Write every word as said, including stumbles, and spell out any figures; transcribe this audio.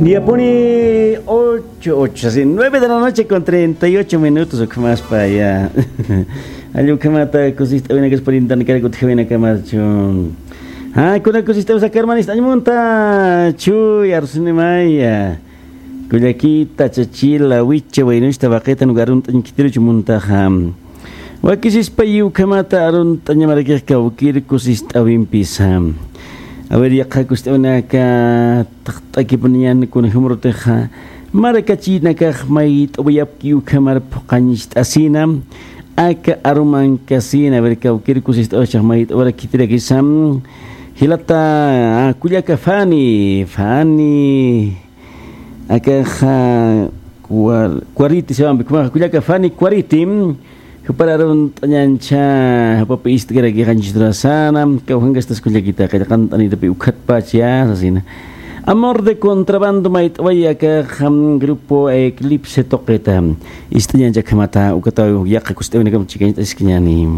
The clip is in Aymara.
Yapuni ocho, ocho, sí, nueve de la noche con treinta y ocho minutos, ukhamaspa, ya. Allí ukhamata kusist'awinakas purintani karkutjawinakamachu. Ah, kuna kusist'awisa karmanista añmunta, chuy, arsinimaya. Kullakita, chachila, wicha, waynusta, waqitan, arunt'añ khitiruch muntaxa. Wakisispa ukhamata arunt'añamarakix kawkir kusist'awimpisa. A ver, yaqha kusist'awinaka taqt'akipuniñan kunjamurutixa. Marakachinakax mayt'awayapki ukhamar phuqañcht'asina. Aka arumankasina, a ver, kawkir kusist'awchax mayt'awara khitirakisa. Jilata, ah, kullaka Fani, Fani. Akaxa, Cuar-, Cuariti se llama, kullaka Fani Cuariti. Jupar arunt'añancha, jupapi ist'karakixanchis turasana, kawjankastas kullakita, qillqant'anitapi ukhatpach ya, sasina. Amor de contrabando mayt'away akaxa, grupo Eclipse tuqita. Ist'añancha akhamata, ukataw yaqha kusist'awinakam chikañt'askiñani.